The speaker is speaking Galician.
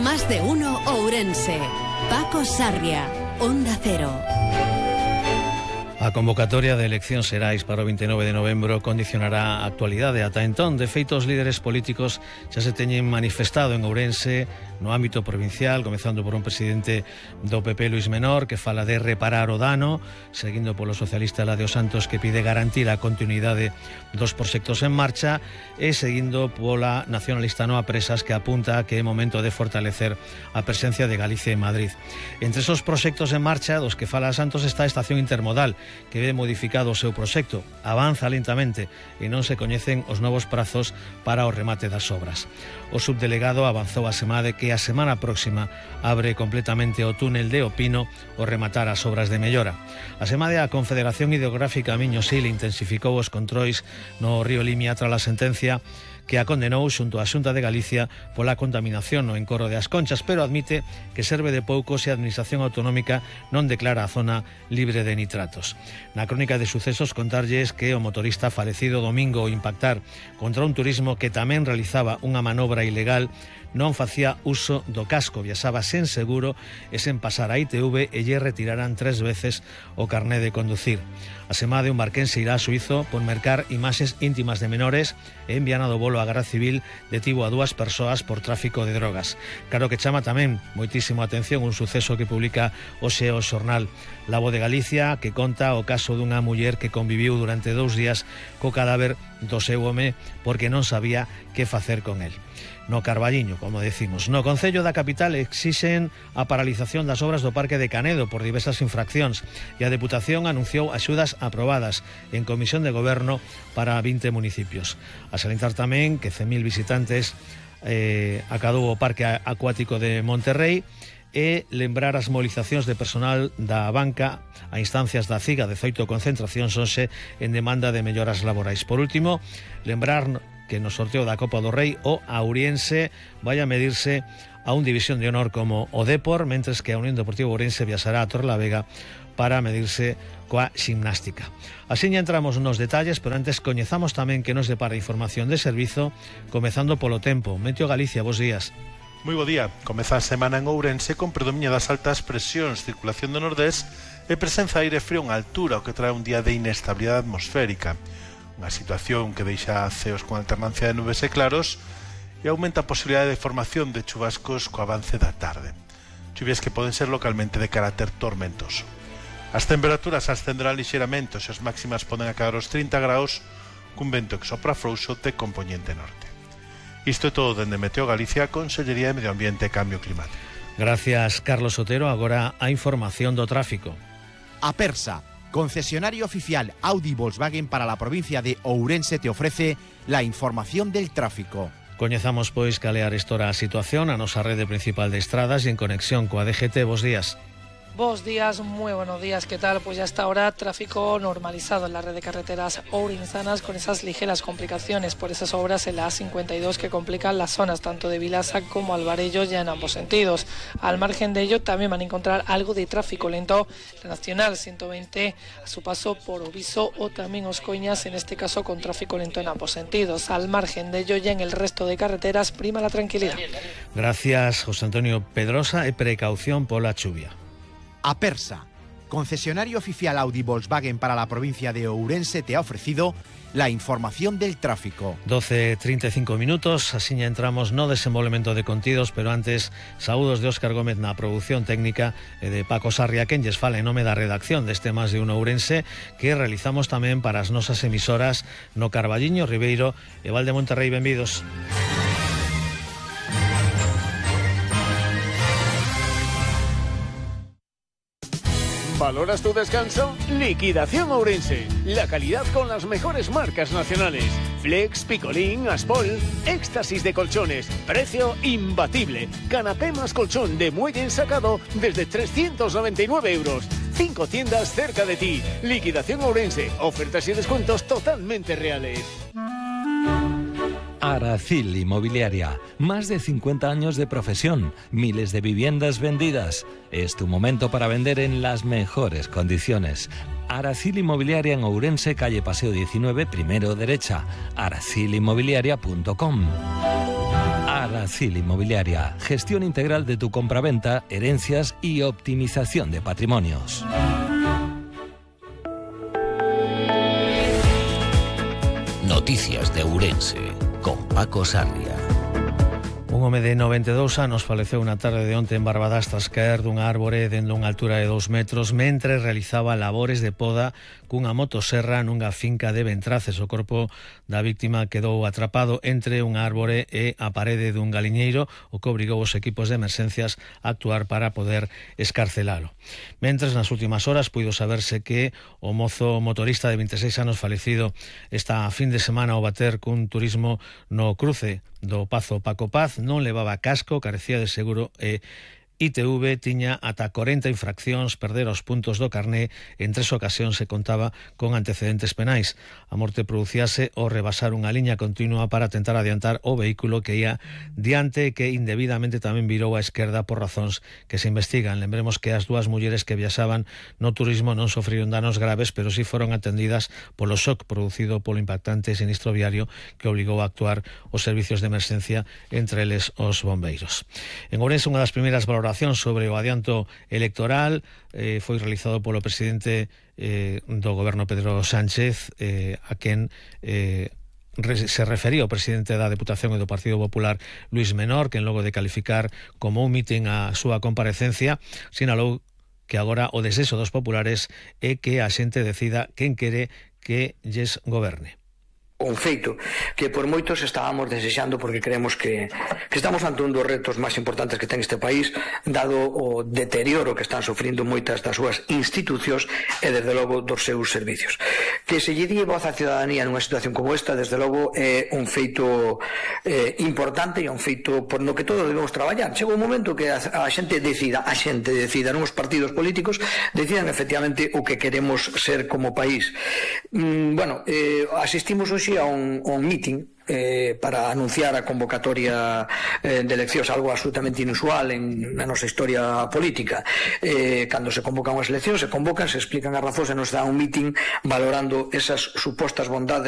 Más de uno Ourense. Paco Sarria, Onda Cero. A convocatoria de eleccións xerais para o 29 de novembro condicionará a actualidade. Ata entón, de feito, os líderes políticos xa se teñen manifestado en Ourense no ámbito provincial, comezando por un presidente do PP, Luis Menor, que fala de reparar o dano, seguindo polo socialista Eladio Santos, que pide garantir a continuidade dos proxectos en marcha, e seguindo pola nacionalista Noa Presas, que apunta que é momento de fortalecer a presencia de Galicia en Madrid. Entre esos proxectos en marcha dos que fala Santos está a estación intermodal, que ve modificado o seu proxecto. Avanza lentamente e non se coñecen os novos prazos para o remate das obras. O subdelegado avanzou a semana de que a semana próxima abre completamente o túnel de Opino o rematar as obras de mellora. A semana a Confederación Hidrográfica Miño-Sil intensificou os controis no río Limia tras a sentencia que a condenou xunto á Xunta de Galicia pola contaminación no encoro de As Conchas, pero admite que serve de pouco se a Administración Autonómica non declara a zona libre de nitratos. Na crónica de sucesos contarlles que o motorista falecido domingo ao impactar contra un turismo que tamén realizaba unha manobra ilegal non facía uso do casco, viaxaba sen seguro e sen pasar a ITV e lle retiraran 3 veces o carné de conducir. A semana de un barquense irá a Suizo por mercar imaxes íntimas de menores e enviana do bolo a Garda Civil detivo a 2 persoas por tráfico de drogas. Claro que chama tamén moitísimo atención un suceso que publica hoxe o xornal La Voz de Galicia, que conta o caso dunha muller que conviviu durante 2 días co cadáver do seu home porque non sabía que facer con el. No Carballiño, como decimos. No Concello da Capital exixen a paralización das obras do Parque de Canedo por diversas infraccións e a Deputación anunciou axudas aprobadas en Comisión de Goberno para 20 municipios. A salientar tamén que 100.000 visitantes acadou o Parque Acuático de Monterrey e lembrar as movilizacións de personal da banca a instancias da CIGA, 18 concentracións hoxe en demanda de melloras laborais. Por último, lembrar que no sorteo da Copa do Rei o Auriense vai a medirse a un división de honor como o Depor, mentres que a Unión Deportiva Ourense viaxará a Torrelavega para medirse coa Ximnástica. Así ya entramos nos detalles, pero antes coñezamos tamén que nos depara información de servizo, comezando polo tempo. Meteo Galicia, bos días. Moi bo día. Comeza a semana en Ourense con predominio das altas presións, circulación do nordés e presenza de aire frío en altura, o que trae un día de inestabilidade atmosférica. Unha situación que deixa ceos con alternancia de nubes e claros e aumenta a posibilidade de formación de chubascos co avance da tarde. Chuvias que poden ser localmente de carácter tormentoso. As temperaturas ascenderán lixeiramente, as máximas poden acadar os 30 graus cun vento que sopra frouxo de compoñente norte. Isto é todo dende Meteo Galicia, Consellería de Medio Ambiente e Cambio Climático. Gracias, Carlos Otero. Agora a información do tráfico. Apersa, concesionario oficial Audi Volkswagen para la provincia de Ourense, te ofrece la información del tráfico. Coñezamos, pois, calear estora a situación a nosa rede principal de estradas e en conexión coa DGT. Bos días. Buenos días, muy buenos días, ¿qué tal? Pues ya hasta ahora tráfico normalizado en la red de carreteras ourensanas con esas ligeras complicaciones por esas obras en la A52 que complican las zonas tanto de Vilasa como Alvarellos ya en ambos sentidos. Al margen de ello también van a encontrar algo de tráfico lento la Nacional 120 a su paso por Oviso o también Oscoiñas, en este caso con tráfico lento en ambos sentidos. Al margen de ello ya en el resto de carreteras prima la tranquilidad. Gracias, José Antonio Pedrosa, e precaución pola chuvia. Apersa, concesionario oficial Audi Volkswagen para la provincia de Ourense, te ha ofrecido la información del tráfico. 12:35 minutos, así ya entramos no desenvolvemento de contidos, pero antes, saúdos de Óscar Gómez na produción técnica e de Paco Sarria, quen lles fala en nome da redacción deste Más de Uno Ourense, que realizamos tamén para as nosas emisoras no Carballiño, Ribeiro e Val de Monterrey. Benvidos. ¿Valoras tu descanso? Liquidación Ourense. La calidad con las mejores marcas nacionales. Flex, Picolín, Aspol. Éxtasis de colchones. Precio imbatible. Canapé más colchón de muelle ensacado desde 399 euros. 5 tiendas cerca de ti. Liquidación Ourense. Ofertas y descuentos totalmente reales. Aracil Inmobiliaria, más de 50 años de profesión, miles de viviendas vendidas. Es tu momento para vender en las mejores condiciones. Aracil Inmobiliaria en Ourense, calle Paseo 19, primero derecha. aracilinmobiliaria.com. Aracil Inmobiliaria. Gestión integral de tu compraventa, herencias y optimización de patrimonios. Noticias de Ourense, con Paco Sarria. Un home de 92 anos faleceu na tarde de onte en Barbadas tras caer dunha árbore dende unha altura de 2 metros mentre realizaba labores de poda cunha motoserra nunha finca de Ventraces. O corpo da víctima quedou atrapado entre unha árbore e a parede dun galiñeiro, o que obrigou os equipos de emerxencias a actuar para poder escarcelalo. Mentres, nas últimas horas, puido saberse que o mozo motorista de 26 anos falecido esta fin de semana ao bater cun turismo no cruce do Pazo Paco Paz non levaba casco, carecía de seguro e ITV tiña ata 40 infraccións, perder os puntos do carné, en 3 ocasións se contaba con antecedentes penais. A morte producíase ao rebasar unha liña continua para tentar adiantar o vehículo que ia diante e que indebidamente tamén virou á esquerda por razóns que se investigan. Lembremos que as dúas mulleres que viaxaban no turismo non sofriron danos graves, pero sí foron atendidas polo shock producido polo impactante sinistro viario que obligou a actuar os servicios de emerxencia, entre eles os bombeiros. En Ourense, unha das primeiras valoracións sobre o adianto electoral foi realizado polo presidente do goberno Pedro Sánchez, a quen se refería o presidente da Deputación e do Partido Popular Luís Menor, que logo de calificar como un mitin a súa comparecencia, sinalou que agora o desexo dos populares é que a xente decida quen quere que lles goberne. Un feito que por moitos estábamos desexando, porque creemos que estamos ante un dos retos máis importantes que ten este país, dado o deterioro que están sufrindo moitas das súas institucións e desde logo dos seus servicios. Que se lle die voz á ciudadanía nunha situación como esta, desde logo é un feito importante e un feito por no que todos debemos traballar. Chega un momento que a xente decida, non os partidos políticos decidan efectivamente o que queremos ser como país. Asistimos hoxe a un meeting para anunciar a convocatoria de eleccións, algo absolutamente inusual na nosa historia política. Cando se convocan as eleccións, se explican as razóns e nos dá un meeting valorando esas supostas bondades